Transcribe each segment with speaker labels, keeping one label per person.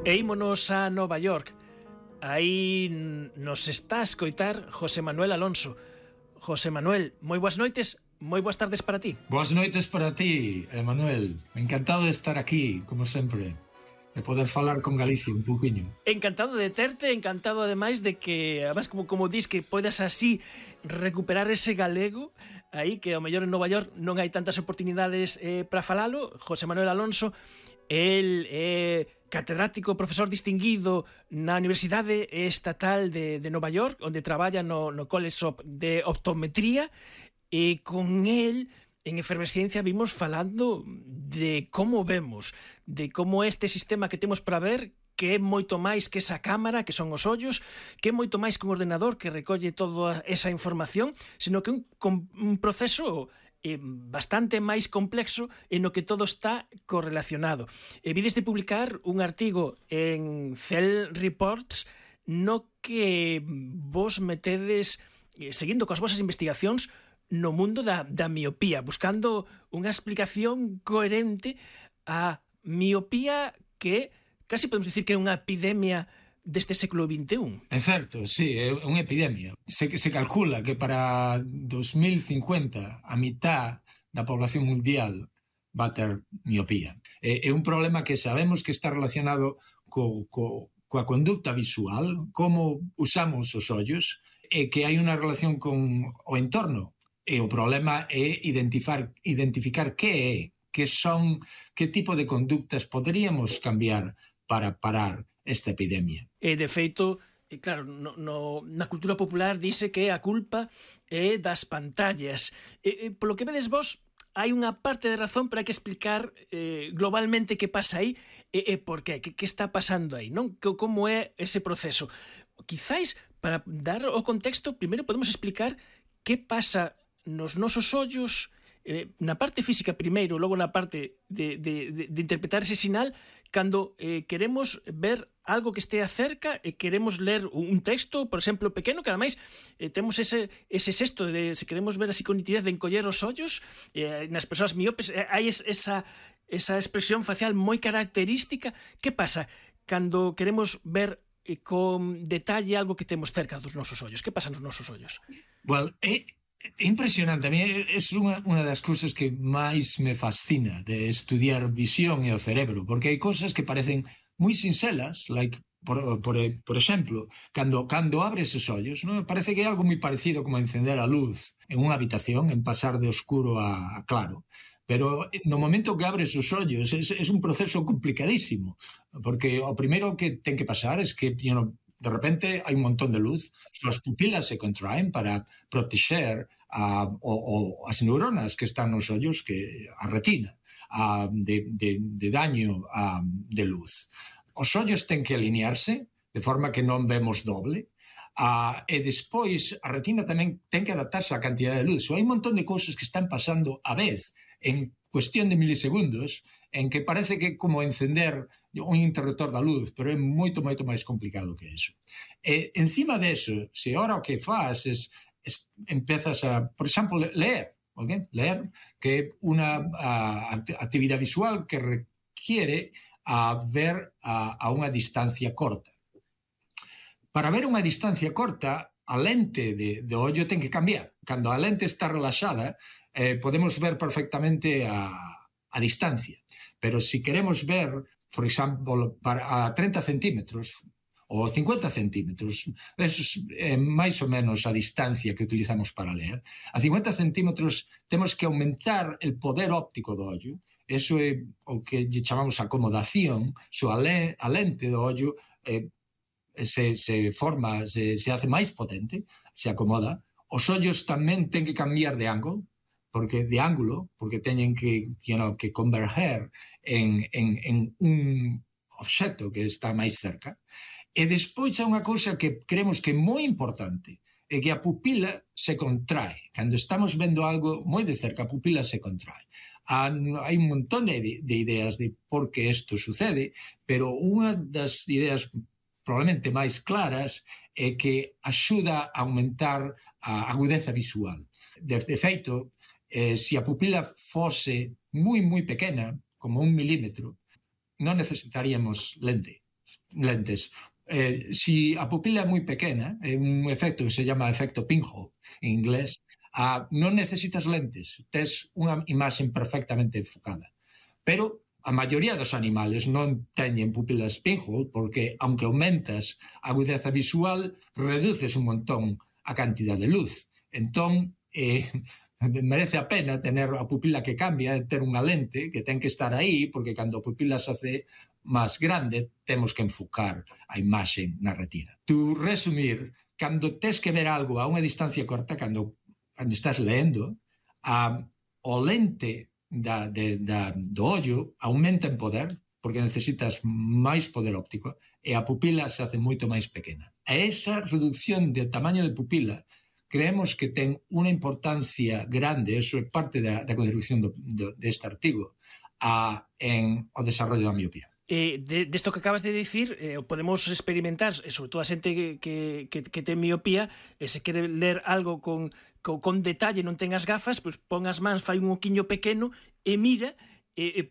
Speaker 1: E ímonos a Nova York. Aí nos está a escoitar José Manuel Alonso. José Manuel, moi boas noites, moi boas tardes para ti.
Speaker 2: Boas noites para ti, Emanuel. Encantado de estar aquí, como sempre, e poder falar con Galicia un pouquiño.
Speaker 1: Encantado de terte, encantado ademais de que, además, como dis, que poidas así recuperar ese galego aí, que ao mellor en Nova York non hai tantas oportunidades para falalo. José Manuel Alonso, el catedrático, profesor distinguido na Universidade Estatal de Nova York, onde traballa no College de Optometría, e con el en Efervesciencia vimos falando de como vemos, de como este sistema que temos para ver, que é moito máis que esa cámara, que son os ollos, que é moito máis que un ordenador que recolle toda esa información, sino que un proceso bastante máis complexo en o que todo está correlacionado. Vides de publicar un artigo en Cell Reports no que vos metedes, seguindo coas vosas investigacións, no mundo da miopía, buscando unha explicación coherente a miopía que casi podemos dicir que é unha epidemia deste século XXI.
Speaker 2: É certo, sí, é unha epidemia. Se calcula que para 2050 a mitad da población mundial va a ter miopía. É un problema que sabemos que está relacionado coa conducta visual, como usamos os ollos, e que hai unha relación con o entorno. E o problema é identificar que tipo de conductas poderíamos cambiar para parar esta epidemia.
Speaker 1: E de feito, claro, na cultura popular dice que a culpa é das pantallas. Polo que vedes vos, hai unha parte de razón para que explicar globalmente que pasa aí e por qué, que está pasando aí, non? Como é ese proceso. Quizáis, para dar o contexto, primeiro podemos explicar que pasa nos nosos ollos, na parte física primeiro, logo na parte de interpretar ese sinal, cando queremos ver algo que estea cerca e queremos ler un texto, por exemplo, pequeno, que ademais temos ese xesto de, se queremos ver así con nitidez, de encoller os ollos, nas persoas miopes hai esa expresión facial moi característica. Que pasa cando queremos ver con detalle algo que temos cerca dos nosos ollos? Que pasa nos nosos ollos?
Speaker 2: Well, impresionante. A mí é unha das cousas que máis me fascina de estudiar visión e o cerebro, porque hai cousas que parecen moi sincelas, like, por exemplo, cando abres os ollos, non? Parece que é algo moi parecido como encender a luz en unha habitación, en pasar de oscuro a claro. Pero no momento que abres os ollos é un proceso complicadísimo, porque o primeiro que ten que pasar é que, de repente hai un montón de luz, as pupilas se contraen para protexer as neuronas que están nos ollos, que a retina, de daño de luz. Os ollos ten que alinearse de forma que non vemos doble, e despois a retina tamén ten que adaptarse á cantidad de luz. Hai un montón de cousas que están pasando a vez en cuestión de milisegundos, en que parece que é como encender un interruptor da luz, pero é moito máis complicado que eso. E encima deso, se ahora o que faz empezas a, por exemplo, leer, okay? Leer, que é unha actividade visual que requiere ver a unha distancia corta. Para ver unha distancia corta, a lente do ollo ten que cambiar. Cando a lente está relaxada, podemos ver perfectamente a distancia. Pero se queremos ver, por exemplo, a 30 centímetros ou 50 centímetros, eso é máis ou menos a distancia que utilizamos para ler. A 50 centímetros temos que aumentar o poder óptico do ollo. Eso é o que chamamos acomodación. A lente do ollo se forma, se hace máis potente, se acomoda. Os ollos tamén ten que cambiar de ángulo, porque teñen que converger en un obxecto que está máis cerca. E despois hai unha cousa que creemos que é moi importante, é que a pupila se contrae. Cando estamos vendo algo moi de cerca, a pupila se contrae. Hai un montón de ideas de por que isto sucede, pero unha das ideas probablemente máis claras é que axuda a aumentar a agudeza visual. De feito, se a pupila fose moi pequena, como 1 milímetro, non necesitaríamos lentes. Si a pupila é moi pequena, é un efecto que se llama efecto pinhole en inglés, non necesitas lentes, tes unha imaxe perfectamente enfocada. Pero a maioría dos animales non teñen pupilas pinhole porque, aunque aumentas a agudeza visual, reduces un montón a cantidad de luz. Entón, merece a pena tener a pupila que cambia, ter unha lente que ten que estar aí, porque cando a pupila se hace máis grande, temos que enfocar a imaxe na retina. Tu resumir, cando tes que ver algo a unha distancia corta, cando estás leendo, o lente do ollo aumenta en poder, porque necesitas máis poder óptico, e a pupila se hace moito máis pequena. E esa reducción de tamaño de pupila creemos que ten unha importancia grande, eso é parte da contribución deste artigo, en o desarrollo da miopía.
Speaker 1: Desto que acabas de dicir, podemos experimentar, sobre todo a xente que ten miopía, se quere ler algo con detalle, non ten as gafas, pois pon as mans, fai un oquiño pequeno e mira,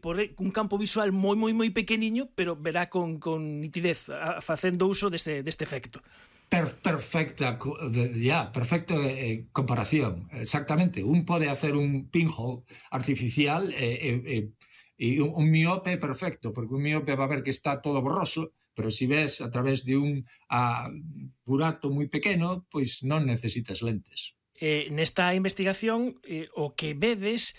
Speaker 1: por un campo visual moi pequeniño, pero verá con nitidez, facendo uso deste efecto.
Speaker 2: Perfecta comparación, exactamente. Un pode hacer un pinhole artificial e un miope perfecto, porque un miope va a ver que está todo borroso, pero si ves a través de un burato moi pequeno, pois non necesitas lentes.
Speaker 1: Nesta investigación, o que vedes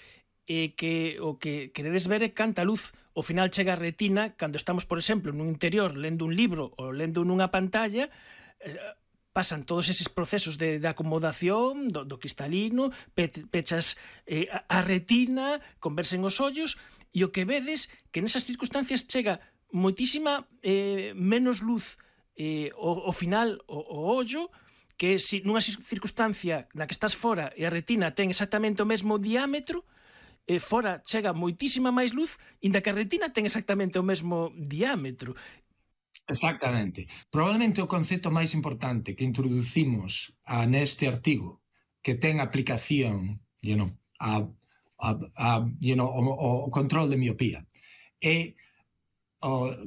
Speaker 1: que o que queredes ver é canta luz ao final chega a retina cando estamos, por exemplo, nun interior lendo un libro ou lendo nunha pantalla, pasan todos eses procesos de acomodación do cristalino, pechas a retina, conversen os ollos, e o que vedes que nesas circunstancias chega moitísima menos luz ao final o ollo, que se nunha circunstancia na que estás fora e a retina ten exactamente o mesmo diámetro, fora chega moitísima máis luz, inda que a retina ten exactamente o mesmo diámetro.
Speaker 2: Exactamente. Probablemente o concepto máis importante que introducimos neste artigo, que ten aplicación o control de miopía, é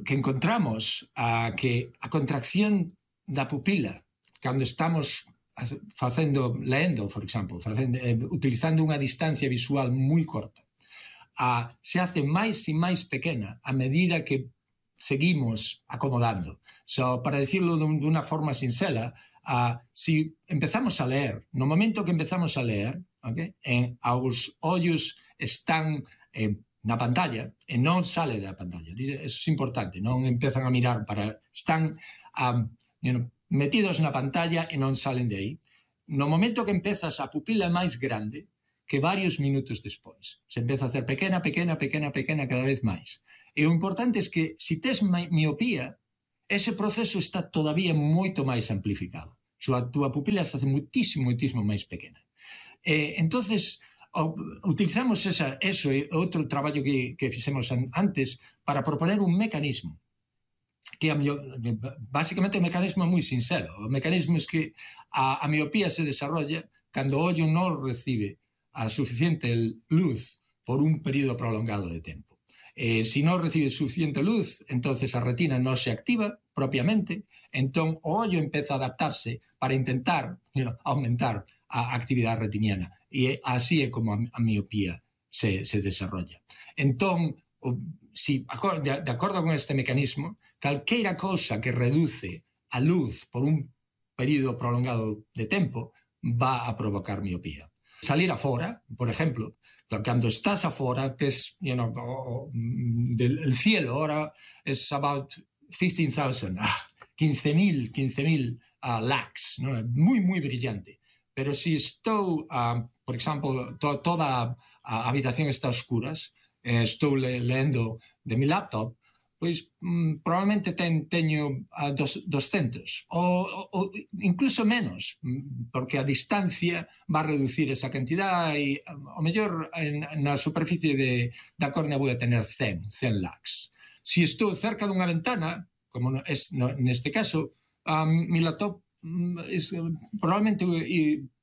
Speaker 2: que encontramos que a contracción da pupila cando estamos leendo, por exemplo, utilizando unha distancia visual moi corta, se hace máis e máis pequena a medida que seguimos acomodando. Para decirlo dunha forma sincera, si empezamos a leer, no momento que empezamos a leer, os ollos están na pantalla e non sale da pantalla. Eso é importante, non empezan a mirar están metidos na pantalla e non salen de aí. No momento que empezas, a pupila é máis grande que varios minutos despois. Se empeza a hacer pequena cada vez máis. E o importante é que se tes miopía, ese proceso está todavía moito máis amplificado. A túa pupila se hace moitísimo máis pequena. Entonces, utilizamos eso e outro traballo que fixemos antes para proponer un mecanismo que basicamente o mecanismo é moi sincero. O mecanismo é que a miopía se desarrolla cando o ollo non recibe a suficiente luz por un período prolongado de tempo. Si non recibe suficiente luz, entonces a retina non se activa propiamente, entón o ollo empeza a adaptarse para intentar aumentar a actividade retiniana. E así é como a miopía se desarrolla. Entón, de acordo con este mecanismo, calqueira cousa que reduce a luz por un período prolongado de tempo va a provocar miopía. Salir afora, por exemplo, cando estás afora, tes, el cielo ahora es about 15,000, 15,000 lux, moi brillante. Pero si estou, por exemplo, toda a habitación está a oscuras, estou lendo de mi laptop, pois probablemente teño 200 ou incluso menos, porque a distancia va a reducir esa cantidad e ao mellor na superficie da córnea vou a tener 100 lux. Si estou cerca dunha ventana, como neste caso, mi laptop probablemente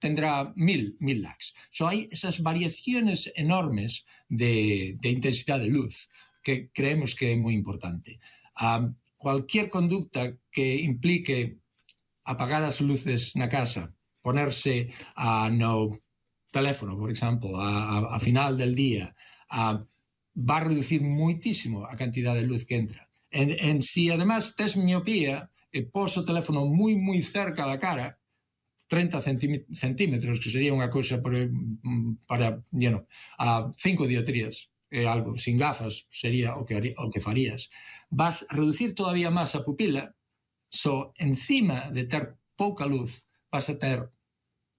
Speaker 2: tendrá 1000 lux. Hai esas variaciones enormes de intensidade de luz que creemos que é moi importante. Cualquier conducta que implique apagar as luces na casa, ponerse no teléfono, por exemplo, a final del día, va a reducir moitísimo a cantidad de luz que entra. Si además tes miopía e pos o teléfono moi cerca da cara, 30 centímetros, que sería unha cousa para 5 dioptrías, algo, sin gafas sería o que farías, vas a reducir todavía máis a pupila. Encima de ter pouca luz, vas a ter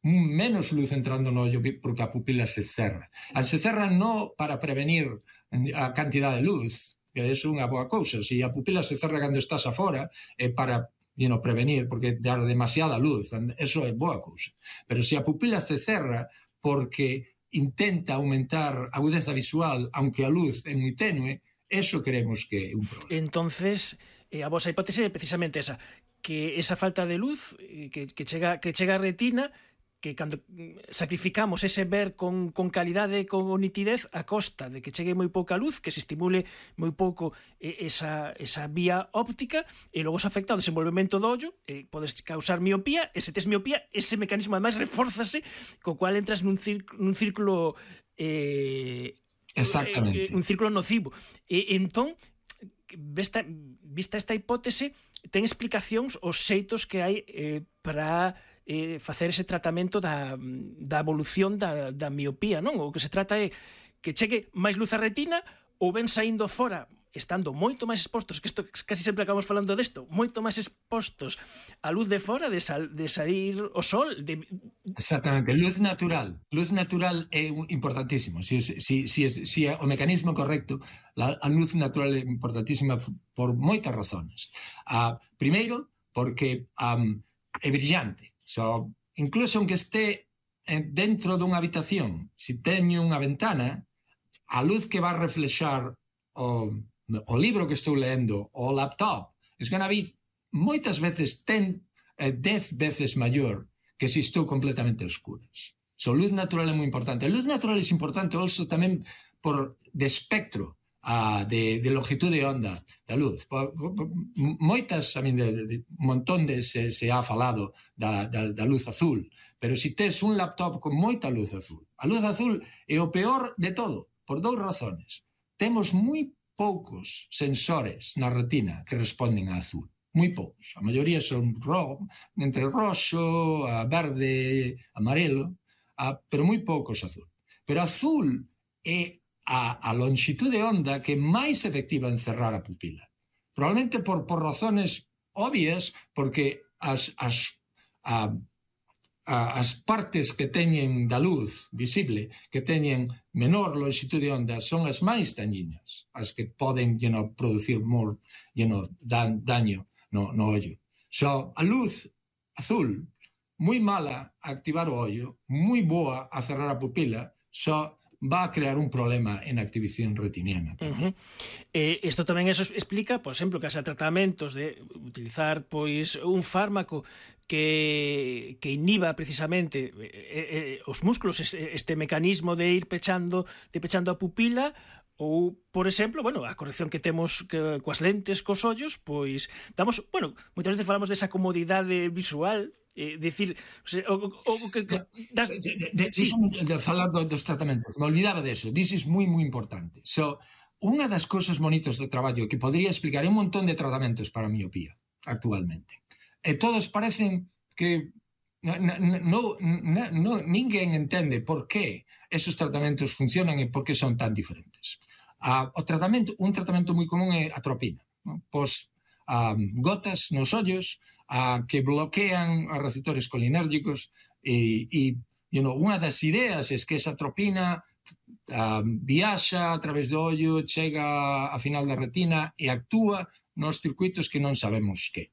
Speaker 2: menos luz entrando no ollo porque a pupila se cerra. Se cerra non para prevenir a cantidad de luz, que é unha boa cousa. Se a pupila se cerra cando estás afora, é para prevenir, porque dar demasiada luz, eso é boa cousa. Pero se a pupila se cerra porque intenta aumentar a agudeza visual, aunque a luz é moi tenue, eso creemos que é un problema.
Speaker 1: Entonces, a vosa hipótese é precisamente esa, que esa falta de luz que chega a retina, que cando sacrificamos ese ver con calidade, con nitidez, a costa de que chegue moi pouca luz, que se estimule moi pouco esa vía óptica, e logo se afecta ao desenvolvemento do ollo, podes causar miopía, e se tes miopía, ese mecanismo ademais reforzase, co cual entras nun círculo
Speaker 2: exactamente,
Speaker 1: un círculo nocivo. Entón, vista esta hipótese, ten explicacións os xeitos que hai para facer ese tratamento da evolución da miopía, non? O que se trata é que chegue máis luz á retina, ou ben saindo fora, estando moito máis expostos, que isto casi sempre acabamos falando desto, moito máis expostos á luz de fora, de sair o sol.
Speaker 2: Exactamente, luz natural. Luz natural é importantísimo. Si o mecanismo é correcto, a luz natural é importantísima por moitas razones. Primeiro, porque é brillante. Incluso aunque esté dentro dunha habitación, se teño unha ventana, a luz que va a reflexar o libro que estou leendo, o laptop, es gonna be moitas veces 10 veces maior que se estou completamente a oscuras. Luz natural é moi importante. A luz natural é importante also tamén de espectro, de longitud de onda da luz. Moitas, un montón se ha falado da luz azul, pero se tes un laptop con moita luz azul, a luz azul é o peor de todo, por dous razones. Temos moi poucos sensores na retina que responden a azul, moi poucos. A maioría son entre roxo, verde, amarelo, pero moi poucos azul. Pero azul é a longitud de onda que é máis efectiva en cerrar a pupila. Probablemente por razones obvias, porque as partes que teñen da luz visible, que teñen menor longitud de onda, son as máis dañinas, as que poden producir daño no ollo. A luz azul, moi mala a activar o ollo, moi boa a cerrar a pupila, va a crear un problema en activación retiniana.
Speaker 1: Isto tamén eso explica, por exemplo, que hasa tratamentos de utilizar un fármaco que inhiba precisamente os músculos, este mecanismo de ir pechando a pupila, ou, por exemplo, a corrección que temos coas lentes, cos ollos, moitas veces falamos desa comodidade visual, decir,
Speaker 2: de falar dos tratamentos, me olvidaba deso, dices moi importante. Unha das cousas bonitas do traballo que podría explicar un montón de tratamentos para a miopía actualmente, e todos parecen que ninguén entende por que esos tratamentos funcionan e por que son tan diferentes. Un tratamento moi común é a atropina, gotas nos ollos que bloquean os receptores colinérgicos, e unha das ideas é que esa atropina viaxa a través do ollo, chega a final da retina e actúa nos circuitos que non sabemos que.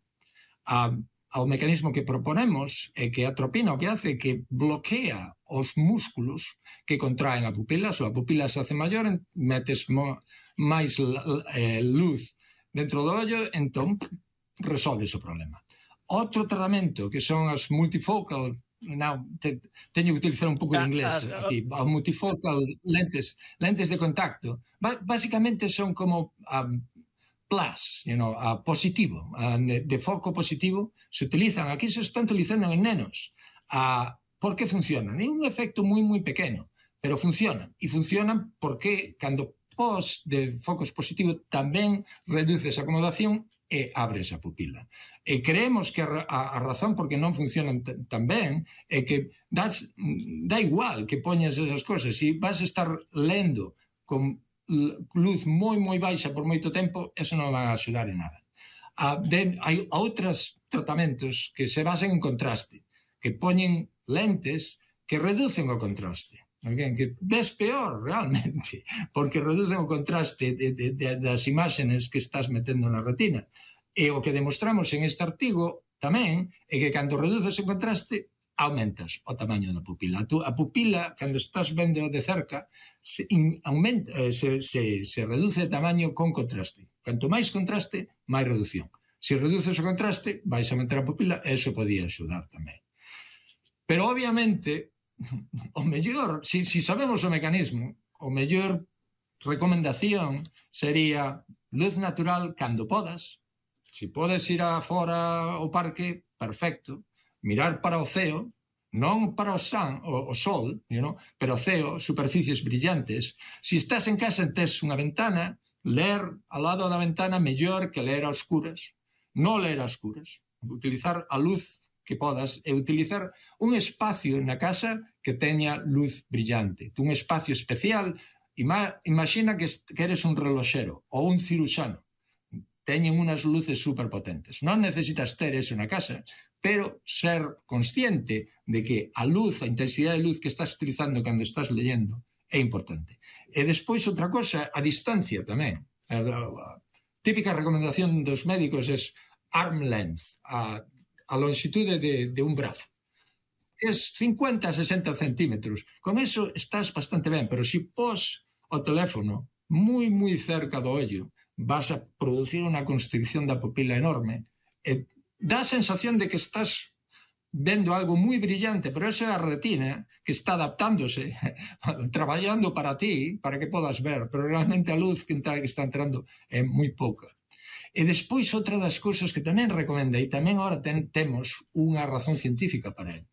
Speaker 2: O mecanismo que proponemos é que a atropina o que hace é que bloquea os músculos que contraen a pupila. A pupila se hace maior, metes máis luz dentro do ollo, entón resolves o problema. Outro tratamento que son as multifocal teño que utilizar un pouco de inglés aquí, multifocal lentes de contacto, basicamente son como plus, positivo, de foco positivo, se utilizan, aquí se están utilizando en nenos. Por que funcionan? É un efecto moi, moi pequeno, pero funcionan. E funcionan porque cando pos de focos positivos tamén reduces a acomodación e abres a pupila. E creemos que a razón por que non funcionan tan ben é que dá igual que poñas esas cosas. Se vas a estar lendo con luz moi, moi baixa por moito tempo, eso non vai a axudar en nada. Hai outros tratamentos que se basan en contraste, que poñen lentes que reducen o contraste, que ves peor realmente, porque reducen o contraste das imágenes que estás metendo na retina. E o que demostramos en este artigo tamén é que cando reduces o contraste, aumentas o tamaño da pupila. A pupila, cando estás vendo de cerca, se reduce de tamaño con contraste. Canto máis contraste, máis reducción. Se reduces o contraste, vais a aumentar a pupila, e iso podía axudar tamén. Pero, obviamente, o mellor, se sabemos o mecanismo, o mellor recomendación sería luz natural cando podas. Se podes ir fora ao parque, perfecto. Mirar para o ceo, non para o sol, pero o ceo, superficies brillantes. Se estás en casa e tes unha ventana, ler ao lado da ventana mellor que ler a oscuras. Non ler a oscuras. Utilizar a luz que podas e utilizar un espacio na casa que teña luz brillante. Un espacio especial. Imagina que eres un reloxero ou un ciruxano. Teñen unas luces superpotentes. Non necesitas ter eso na casa, pero ser consciente de que a luz, a intensidade de luz que estás utilizando cando estás leyendo é importante. E despois outra cosa, a distancia tamén. A típica recomendación dos médicos é arm length, a longitude de un brazo. Es 50 a 60 centímetros. Con eso estás bastante ben, pero se pos o teléfono moi, moi cerca do ollo, vas a producir unha constricción da pupila enorme e dá a sensación de que estás vendo algo moi brillante, pero esa é a retina que está adaptándose, traballando para ti, para que podas ver, pero realmente a luz que está entrando é moi pouca. E despois outra das cousas que tamén recomenda, e tamén agora temos unha razón científica para ele,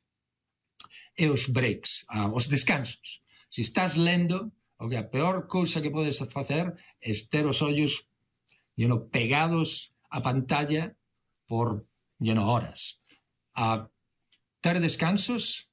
Speaker 2: é os breaks, os descansos. Se estás lendo, a peor cousa que podes facer é ter os ollos pegados á pantalla por horas. Ter descansos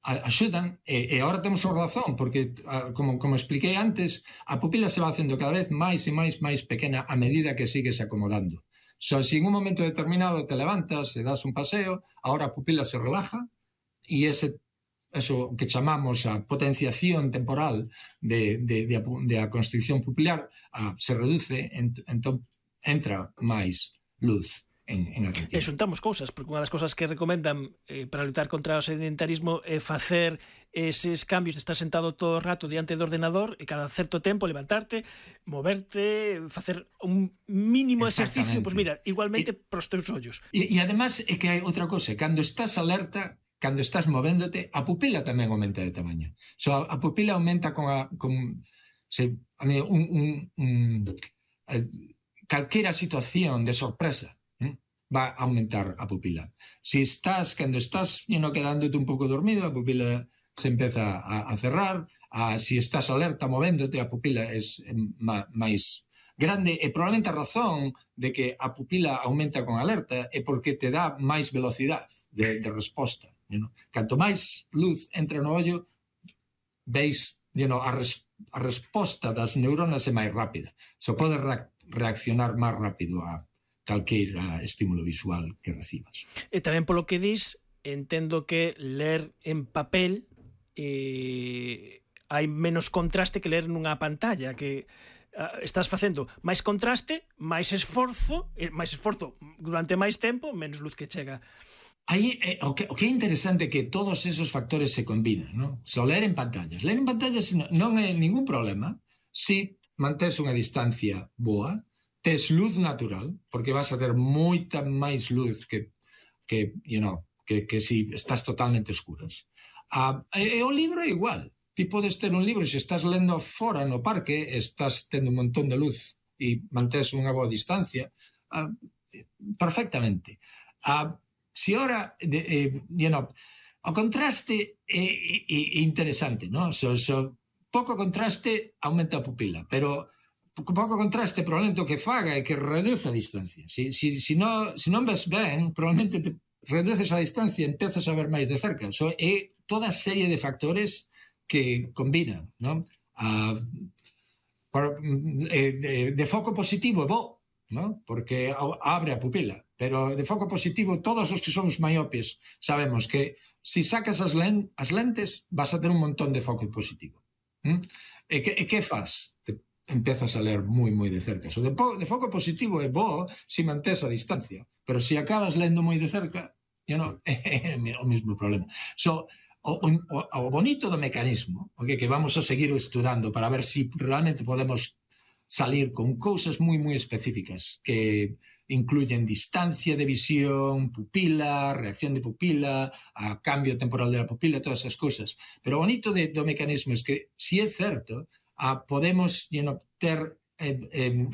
Speaker 2: axudan, e agora temos a razón, porque, como expliquei antes, a pupila se va facendo cada vez máis e máis pequena a medida que sigues acomodando. Se en un momento determinado te levantas e das un paseo, agora a pupila se relaja, e eso que chamamos a potenciación temporal da constricción pupilar se reduce, entón entra máis luz en a retina.
Speaker 1: E xuntamos cousas, porque unha das cousas que recomendan para lutar contra o sedentarismo é facer eses cambios de estar sentado todo o rato diante do ordenador e cada certo tempo levantarte, moverte, facer un mínimo exercicio, pois mira, igualmente pros teus ollos.
Speaker 2: E además é que hai outra cosa, cando estás alerta, cando estás movéndote, a pupila tamén aumenta de tamaño. A pupila aumenta calquera situación de sorpresa va a aumentar a pupila. Cando estás quedándote un pouco dormido, a pupila se empeza a cerrar. Se estás alerta movéndote, a pupila é máis grande, e probablemente a razón de que a pupila aumenta con alerta é porque te dá máis velocidade de resposta. Canto máis luz entra no ollo, veis a resposta das neuronas é máis rápida. Se pode reaccionar máis rápido a calqueira estímulo visual que recibas.
Speaker 1: E tamén polo que dis, entendo que ler en papel hai menos contraste que ler nunha pantalla, que estás facendo máis contraste, máis esforzo durante máis tempo, menos luz que chega.
Speaker 2: Aí, o que é interesante é que todos esos factores se combinan, non? Ler en pantallas. Ler en pantallas non é ningún problema se mantens unha distancia boa, tes luz natural, porque vas a ter moita máis luz que que si estás totalmente escuras. E o libro é igual. Ti podes ter un libro, se estás lendo fora no parque, estás tendo un montón de luz e mantés unha boa distancia, perfectamente. Si ora, o contraste é interesante, ¿no? Pouco contraste aumenta a pupila, pero pouco contraste probablemente o que faga é que reduce a distancia. Si non ves ben, probablemente te reduces a distancia e empezas a ver máis de cerca. É toda a serie de factores que combinan, ¿no? De foco positivo é bo, ¿no? Porque abre a pupila, pero de foco positivo todos os que somos maiopes sabemos que si sacas as lentes vas a ter un montón de foco positivo. E que faz? Te empezas a ler moi de cerca. De foco positivo é bo se mantés a distancia, pero se acabas lendo moi de cerca, é o mesmo problema. O bonito do mecanismo, que vamos a seguir estudando para ver se realmente podemos salir con cousas moi específicas que incluyen distancia de visión, pupila, reacción de pupila, a cambio temporal de la pupila, todas esas cousas. Pero o bonito do mecanismo é que, se é certo, podemos ter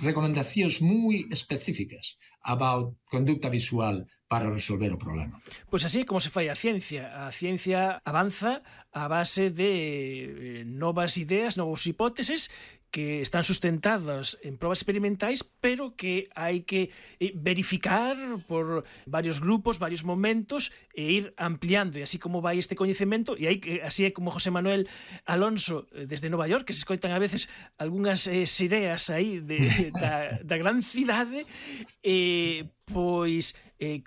Speaker 2: recomendacións moi específicas about conducta visual para resolver o problema.
Speaker 1: Pois así como se fai a ciencia. A ciencia avanza a base de novas ideas, novas hipóteses que están sustentadas en probas experimentais, pero que hai que verificar por varios grupos, varios momentos, e ir ampliando, e así como vai este coñecemento, e así é como José Manuel Alonso, desde Nova York, que se escoitan a veces algunhas sireas aí da gran cidade, pois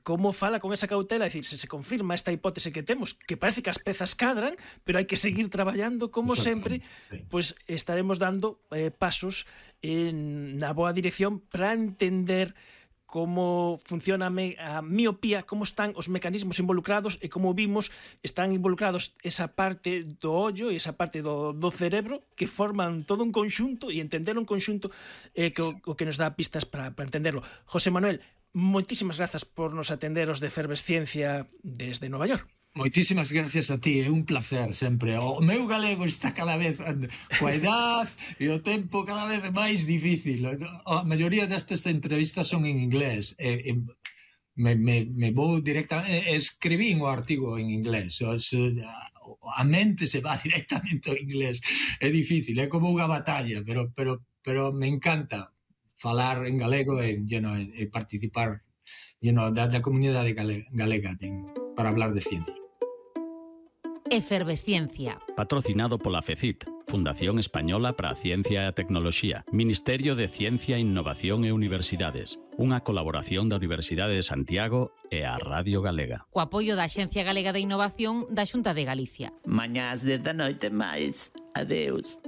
Speaker 1: como fala con esa cautela, é dicir, se confirma esta hipótese que temos, que parece que as pezas cadran, pero hai que seguir traballando, como sempre, pois estaremos dando pasos na boa dirección para entender como funciona a miopía, como están os mecanismos involucrados e como vimos están involucrados esa parte do ollo e esa parte do cerebro que forman todo un conxunto, e entender un conxunto o que nos dá pistas para entenderlo. José Manuel, moitísimas grazas por nos atender os de Efervesciencia desde Nova York.
Speaker 2: Moitísimas gracias a ti, é un placer sempre. O meu galego está cada vez coa edad e o tempo cada vez máis difícil. A maioría destas entrevistas son en inglés. Me vou directamente, escribín o artigo en inglés. A mente se va directamente ao inglés. É difícil, é como unha batalla, pero me encanta falar en galego e participar da comunidade galega para hablar de ciencia.
Speaker 3: Efervesciencia.
Speaker 4: Patrocinado pola FECIT, Fundación Española para a Ciencia e a Tecnoloxía, Ministerio de Ciencia, Innovación e Universidades, unha colaboración da Universidade de Santiago e a Radio Galega.
Speaker 3: Co apoio da Axencia Galega de Innovación da Xunta de Galicia.
Speaker 5: Mañás de da noite máis. Adeus.